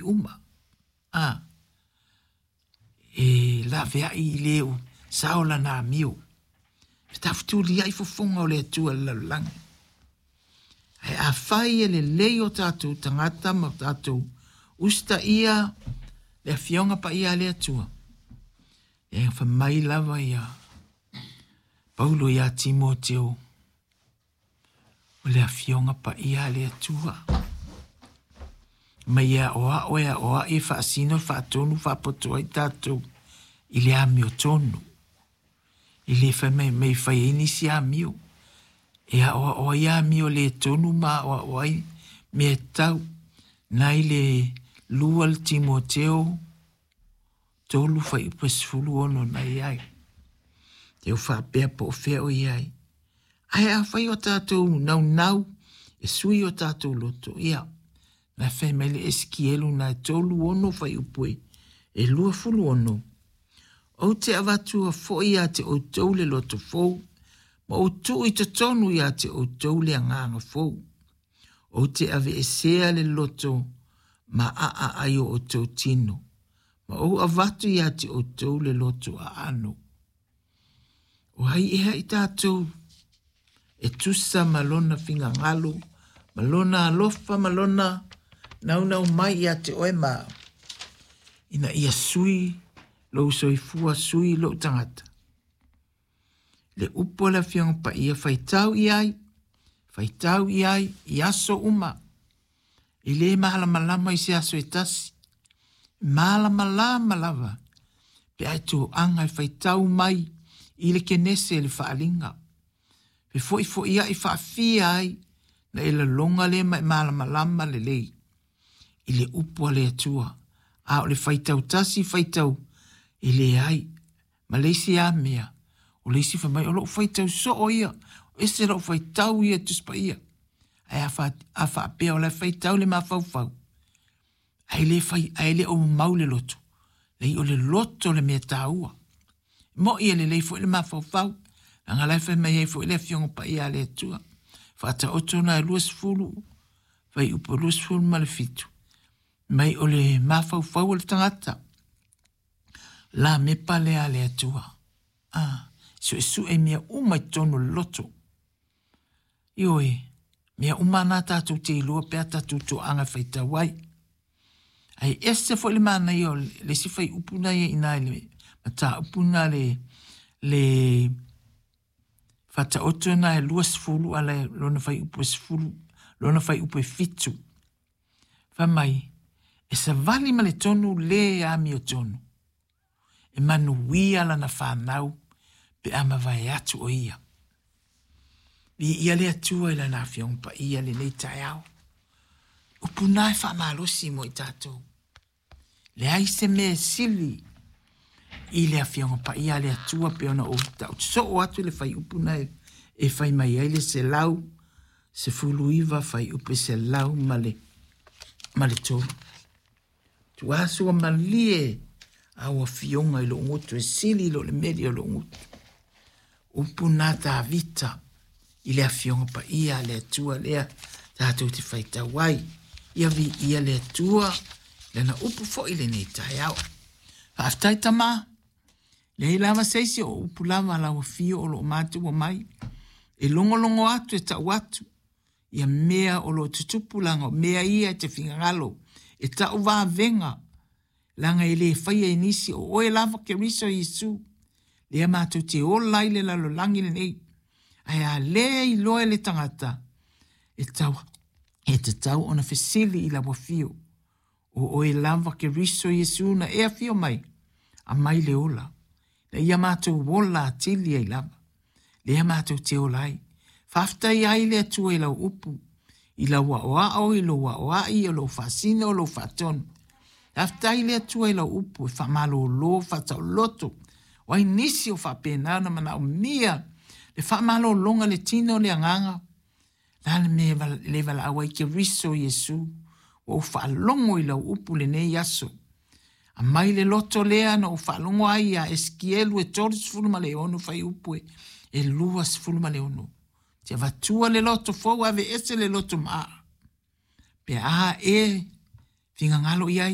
uma. A, e laveai i le o sao lana amio. E tafetuliai fofoga o le Atua i le lalolagi. Ae afai e lelei o tatou tagata ma o tatou usitaia le Afioga Paia a le Atua, e fai mai lava ia Paulo ia Timoteo, o le Afioga Paia a le Atua. Mai e aoao e aoai e faasino e faatonu faapoto ai tatou i le amiotonu. E le fai mai mai fai ai nisi amio. E aoao ai amio le tonu ma aoao ai mea tau. Nai le lua le Timoteo 3 fuaiupu e 16 na i ai. Te o faapea po o fea o i ai. Ae afai o tatou naunau e sui o tatou loto, ia, na fai mai le Esikielu na e 36 fuaiupu e 26. Ou te avatua foi ia te outou le loto fou, ma ou tuu i totonu ia te outou le agaga fou. Ou te aveesea le loto ma aa ai o outou tino, ma ou avatu ia te outou le loto aano. O ai ea i tatou e tusa ma lona finagalo, ma lona alofa, ma lona naunau mai ia te oe ma au, ina ia sui lou soifua, sui lou tagata. Le upu a le Afioga Paia, faitau i ai, faitau i ai, i aso uma. E le malamalama i se aso e tasi. Malamalama lava pe a e toaga e faitau mai i le Kenese le faaaliga. Fefoifoiai faafia ai na e laloga lea ma e malamalama lelei i le upu a le Atua. A o le faitau tasi faitau e leai. Ma le isi a mea, o le isi fai mai, o lou faitau soo ia, ese lou faitau ia Tusi Paia. Ae a, fa, a faapea o la e faitau le mafaufau, ae le fai, ae le o mau le loto. Leai o le loto le mea taua. Mo'i e lelei foi le mafaufau, leaga la e fai mai ai foi le Afioga Paia a le Atua. Faataoto na e 20, fuaiupu 27, mai o le mafaufau o le tagata. La mepa lea a le Atua. A, suesue mea uma i totonu o le loto. Ioe, mea uma na tatou te iloa pe a tatou toaga e faitau ai. Ae ese foi le manaia o le isi fuaiupu na ia ina i le mataupu na le, le Faataoto na e 20 ala e lona fuaiupu e 10, lona fuaiupu e 7. Fai mai, e savali ma le tonu le amiotonu, e manuia lana fanau pe a mavae atu o ia. Viia le Atua i lana Afioga Paia lenei taeao. Upu na e faamalosi mo i tatou. Leai se mea e sili i le Afioga Paia a le Atua pe ona ou tau soo atu le fuaiupu na e fai mai ai le 119 fuaiupu e 103. Tuasu malie au afioga i lou gutu e sili i lo le meli o lou gutu. Upu na Tavita i le Afioga Paia a le Atua lea tatou te faitau ai. Ia viia le Atua, lana upu foi lenei taeao. Faafetai Tama, leai lava se isi o upu lava lau afio o lo o matou mai, e logologo atu e tau atu, ia mea o lo o tutupu laga o mea ia e te finagalo, e tau vavega, leaga e le faia e nisi o oe lava Keriso Iesu, lea matou te ola ai le lalolagi lenei. Ae a le iloa e le tagata, e tau, e tatau ona fesili i lau afio. O oe lava Keriso Iesu na e afio mai, aumai le ola. Na ia matou ola atili ai lava. Lea matou te ola ai. Faafetai ai le Atua i lau upu, i lau aoao, i lou aoai, o lou faasino, o lou faatonu. Faafetai le Atua i lau upu e faamalolo, faataoloto. O ai nisi o faapena ona manaomia le faamalologa le tino le agaga. La le mea e le valaau ai Keriso Iesu. Ua ou faalogo i lau upu lenei aso. Aumai le loto lea na ou faalogo ai ia Esikielu e 36 fuaiupu e 26. Te avatua le loto fou aveese le loto maa. Pe a e finagalo i ai.